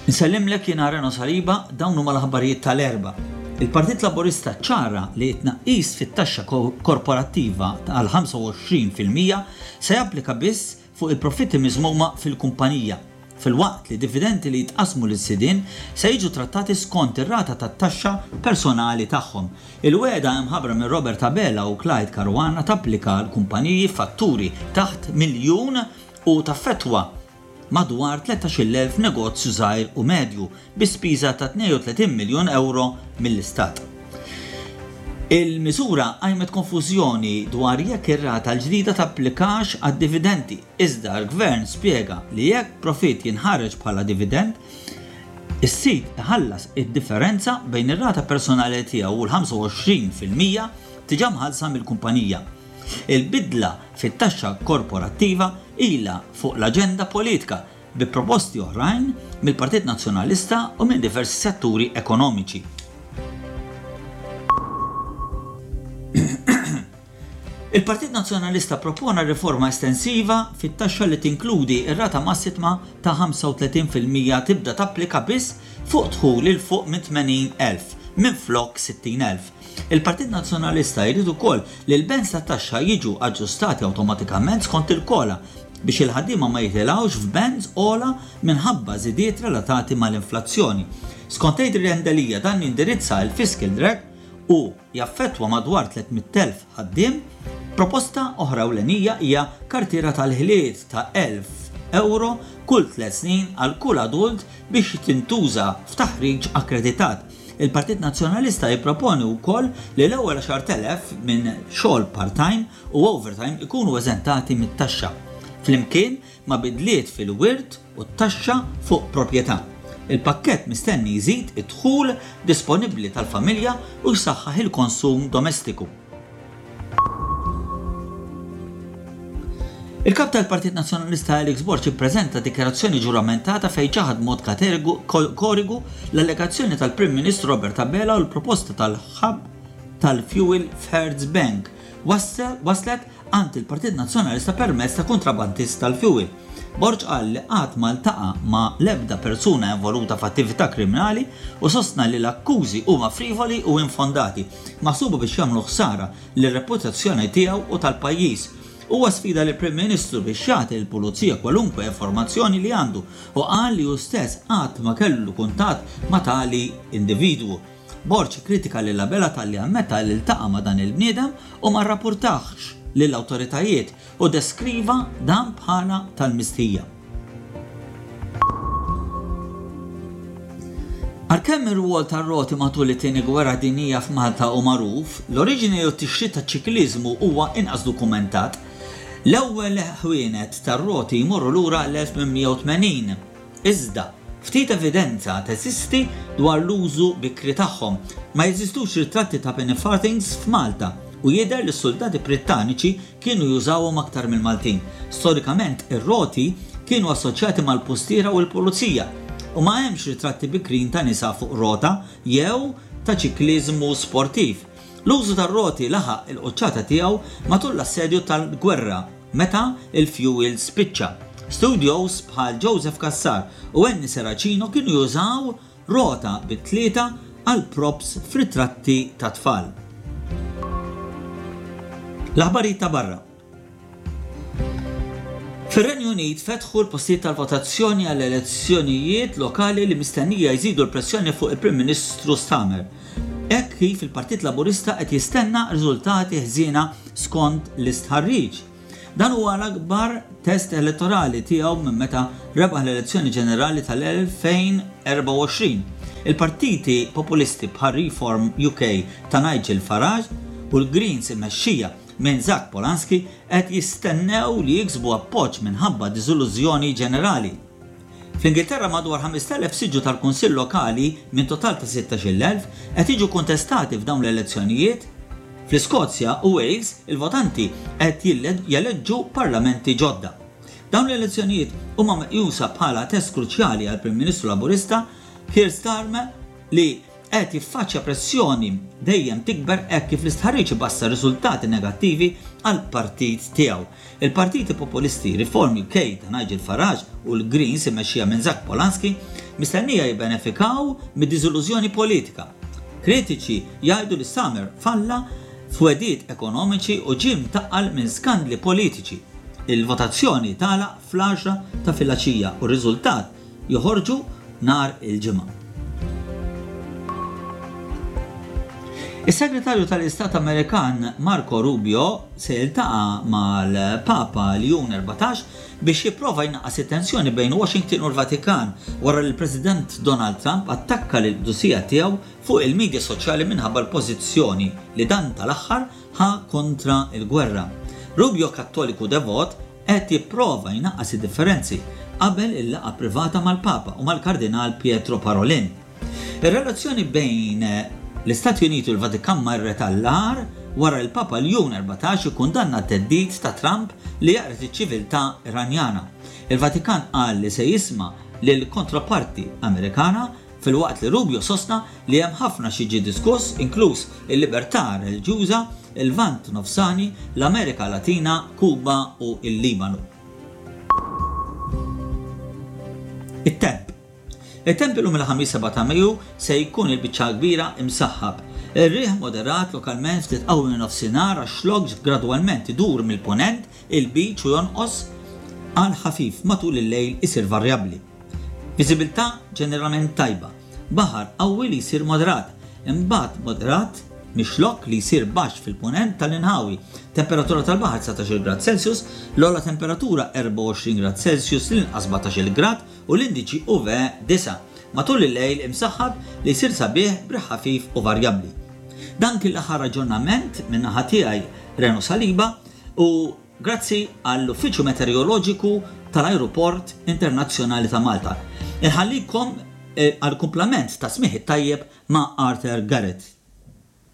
Insellimlek jiena Reno Saliba, dawn huma l-aħbarijiet tal-Erbgħa. Il-Partit Laburista ċċara li t-tnaqqis fit-taxxa korporattiva għal 25% se japplika biss fuq il-profitti miżmuma fil-kumpanija, filwaqt li dividendi li jitqassmu lis-sidien se jiġu trattati skont ir-rata tat-taxxa personali tagħhom. Il-wegħda imħabbra minn Robert Abela u Clyde Caruana tapplika għal kumpaniji b'fatturi taħt miljun u taffettwa madwar 13,000 negozju żgħir u medju bi spiża ta' 32 miljun ewro mill-Istat. Il-miżura qajmet konfużjoni dwar jekk ir-rata l-ġdida tapplikax għad-dividendi, iżda l-Gvern spjega li jekk profitt jinħareġ bħala dividend, is-sid iħallas id-differenza bejn ir-rata personali tiegħu u l-25% diġà mħallsa mill-kumpanija. Il-bidla fit-taxxa korporattiva ilha fuq l-aġenda politika bi proposti oħrajn mill-Partit Nazzjonalista u minn diversi setturi ekonomiċi. Il-Partit Nazzjonalista ppropona riforma estensiva fit-taxxa li tinkludi r-rata massitma ta' 35% tibda tapplika biss fuq dħul 'il fuq minn 80,000 minflok 60,000. Il-Partit Nazzjonalista jrid ukoll li l-bands tat-taxxa jiġu aġġustati awtomatikament skont il-COLA biex il-ħaddiema ma jitilgħux f'bands ogħla minħabba żidiet relatati mal-inflazzjoni. Skont Adrian Delia dan jindirizza l-fiscal drag u jaffettwa madwar 300,000 ħaddiem. Proposta oħra ewlenija hija kartiera tal-ħiliet ta' 1,000 ewro kull tliet snin għal kull adult biex tintuża f'taħriġ akkreditat. Il-Partit Nazzjonalista jipproponi wkoll li l-ewwel 10,000 minn xogħol part-time u overtime ikunu eżentati mit-taxxa, flimkien ma' bidliet fil-wirt u t-taxxa fuq proprjetà. Il-pakkett mistenni jżid id-dħul disponibbli tal-familja u jsaħħaħ il-konsum domestiku. Il-Kap tal-Partit Nazzjonalista Alex Borg ippreżenta dikjarazzjoni ġuramentata fejn ċaħad b'mod kategoriku l-allegazzjoni tal-Prim Ministru Robert Abela u l-proposta tal-hub tal-fuel f'Hertz Bank waslet għand il-Partit Nazzjonalista permezz ta' kuntrabandist tal-fuel. Borg qal li qatt ma ltaqa' ma' l-ebda persuna involuta f'attività kriminali u sostna li l-akkużi huma frivoli u infondati, maħsuba biex jagħmlu ħsara lir-reputazzjoni tiegħu u tal-pajjiż. Huwa sfida lill-Prim Ministru biex jagħti lill-Pulizija kwalunkwe informazzjoni li għandu u qal li hu stess qatt ma kellu kuntatt ma' tali individwu. Borg ikkritika lil Abela talli ammetta li ltaqa' ma' dan il-bniedem u ma rrappurtahx lill-awtoritajiet u deskriva dan bħala tal-mistħija. Għalkemm ir-rwol tar-roti matul it-Tieni Gwerra Dinjija f'Malta hu magħruf, l-oriġini u t-tixrid taċ-ċikliżmu huwa inqas dokumentat. L-ewwel ħwienet tar-roti jmorru lura għall-1880. Iżda, ftit evidenza teżisti dwar l-użu bikri tagħhom. Ma jeżistux ritratti ta' penny farthings f'Malta u jidher li s-suldati Brittaniċi kienu jużawhom aktar mill-Maltin. Storikament, ir-roti kienu assoċjati mal-pustiera u l-pulizija, u ma hemmx ritratti bikrin ta' nisa fuq rota jew ta' ċikliżmu sportiv. L-użu tar-roti laħaq il-quċċata tiegħu matul l-assedju tal-gwerra meta l-fjuwil spiċċa. Studios bħal Joseph Cassar u Annie Serracino kienu jużaw Rota bi tlieta għal props f'ritratti ta' tfal. L-aħbarijiet ta' barra. Fir-Renju Unit fetħu l-postijiet tal-votazzjoni għall-elezzjonijiet lokali li mistennija jżidu l-pressjoni fuq il-Prim Ministru Starmer. Hekk kif il-Partit Laburista qed jistenna riżultati ħżiena skont l-istħarriġ. Dan huwa l-akbar test elettorali tiegħu minn meta rebaħ l-elezzjoni ġenerali tal-2024. Il-partiti populisti bħal Reform UK ta' Nigel Farage u l-Greens immexxija minn Zach Polanski qed jistennew li jiksbu appoġġ minħabba diżillużjoni ġenerali. Fl-Ingilterra madwar 5,000 siġġu tal-kunsill lokali minn total ta' 16,000 qed jiġu kontestati f'dawn l-elezzjonijiet. Fl-Iskozja u Wales il-votanti qed jeleġġu parlamenti ġodda. Dawn l-elezzjonijiet huma meqjusa bħala test kruċjali għall-Prim Ministru Laburista Keir Starmer li qed jiffaċċja pressjoni dejjem tikber hekk kif l-istħarriġ ibassar riżultati negattivi għall-partit tiegħu. Il-partiti populisti Reform UK ta' Nigel Farage u l-Greens immexxija minn Zach Polanski mistennija jibbenefikaw mid-diżillużjoni politika. Kritiċi jgħidu li Starmer falla f'wegħdiet ekonomiċi u ġie mtaqqal minn skandli politiċi. Il-votazzjoni tagħlaq fl-għaxra ta' filgħaxija u r-riżultat joħorġu nhar il-Ġimgħa. Is-Segretarju tal-Istat Amerikan Marco Rubio se jiltaqa' mal-Papa Ljun 14 biex jipprova jnaqqas it-tensjoni bejn Washington u l-Vatikan wara li l-President Donald Trump attakka lill-qdusija tiegħu fuq il-midja soċjali minħabba l-pożizzjoni li dan tal-aħħar ħa kontra l-gwerra. Rubio Kattoliku devot qed jipprova jnaqqas id-differenzi qabel il-laqgħa privata mal-Papa u mal-Kardinal Pietro Parolin. Ir-relazzjoni bejn l-Istati Uniti u l-Vatikan marret għall-agħar wara li l-Papa Ljun 14 ikkundanna t-theddid ta' Trump li jeqred iċ-ċiviltà Iranjana. Il-Vatikan qal li se jisma' lill-kontroparti Amerikana filwaqt li Rubio sostna li hemm ħafna x'jiġi diskuss, inkluż il-libertà reliġjuża, il-Lvant Nofsani, l-Amerika Latina, Kuba u l-Libanu. It-temp. It-temp illum il-Ħamis 7 ta' Mejju se jkun il-biċċa l-kbira imsaħħab. Ir-riħ moderat lokalment ftit qawwi min-Nofsinhar għax-Xlokk gradwalment idur mill-Punent il-Lbiċ u jonqos għal ħafif matul il-lejl isir varjabbli. Viżibilità ġeneralment tajba. Baħar qawwi li jsir moderat, imbagħad moderat mix-Xlokk li jsir baxx fil-Punent tal-inħawi. Temperatura tal-baħar 19-il grad Celsius, l-ogħla temperatura 24 grad Celsius, l-inqas 17-il grad u l-indiċi UV 9. Matul il-lejl imsaħħab li jsir sabiħ b'riħ ħafif u varjabbli. Dan kien l-aħħar aġġornament min-naħa tiegħi Reno Saliba u Grazzi għall-Uffiċċju Meteoroloġiku tal-Ajruport Internazzjonali ta' Malta. Inħallikom għall-kumplament tas-smigħ it-tajjeb ma' Arthur Garrett.